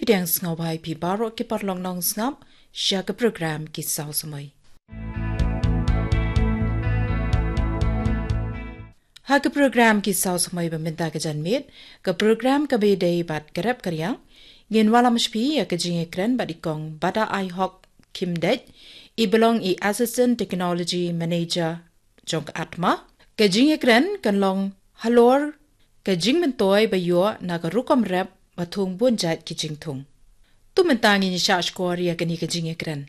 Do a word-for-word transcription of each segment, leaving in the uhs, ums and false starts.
Pdiang sngewbha ïa phi baroh ki paralok nongsngap sha ka program Ki Saw Samoi. Ha ka program Ki Saw Samoi ba mynta ka janmiet, ka program kaba ïadei bad ka rep ka riang, ngin wallam sha phi ïa ka jingïakren bad i kong Bada Aihok Khymdeit, i ba long i Assistant Technology Manager jong ka ATMA. Ka jingïakren kan long halor ka jingmyntoi ba ïoh na ka rukom rep ba thung bun jait ki jingthung. To mynta ngin ïa shah shkor ïa kane ka jingïakren.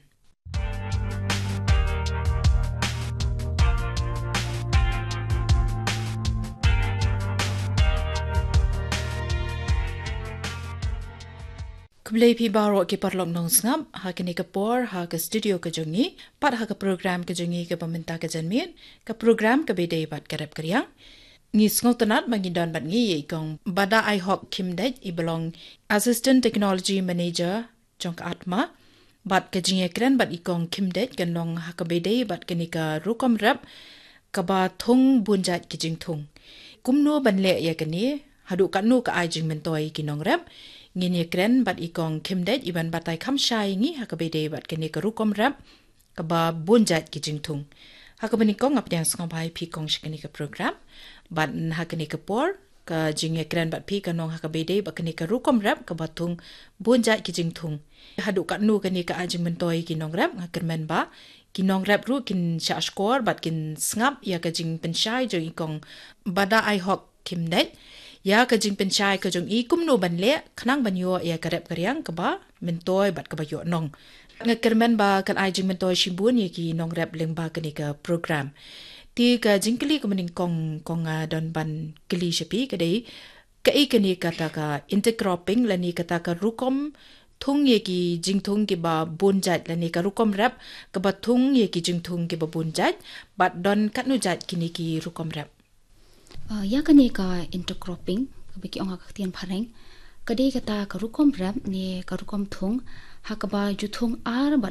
Khublei phi baroh ki paralok nongsngap, ha kane ka por, ha ka studio ka jong ngi, bad ha ka program ka jong ngi kaba mynta ka janmiet, ka program kaba ïadei bad ka rep ka riang. Ngi sngewtynnad ba ngi don bad ngi ïa i kong Bada Aihok Khymdeit, i ba long Assistant Technology Manager jong ka ATMA, bad ka jingïakren bad i kong Khymdeit kan long ha kaba ïadei bad kane ka rukom rep kaba thung bun jait ki jingthung. Kumno ban leh ïa kane, haduh katno ka ai jingmyntoi ki nongrep, ngin ïakren bad i kong Khymdeit i ban batai kham shai ïa ngi ha kaba ïadei bad kane ka rukom rep kaba bun jait ki jingthung. Ha kaba nyngkong nga pdiang sngewbha ïa phi kong sha kane ka program, bad ha kane ka por, ka jingïakren bad phi kan long ha kaba ïadei bad kane ka rukom rep kaba thung bun jait ki jingthung. Haduh katno kane ka ai jingmyntoi ki nongrep, nga kyrmen ba ki nongrep ruh kin shah shkor bad kin sngap ïa ka jingpynshai jong i kong Bada Aihok Khymdeit ïa ka jingpynshai ka jong i kumno ban leh khnang ban ïoh ïa ka rep ka riang kaba myntoi bad kaba ïoh nong. Nga kyrmen ba kan ai jingmyntoi shibun ïa ki nongrep lyngba kane ka program. Te ka jingkylli kaba nyngkong kong nga don ban kylli sha phi ka dei, kaei kane kata ka intercropping lane kata ka rukom thung ïa ki jingthung kiba bun jait lane ka rukom rep kaba thung ïa ki jingthung kiba bun jait, bad don katno jait kine ki rukom rep? Ah, ïa kane ka intercropping, kaba ki ong ha ka ktien phareng, ka dei kata ka rukom rep ne ka rukom thung ha kaba ju thung ar bad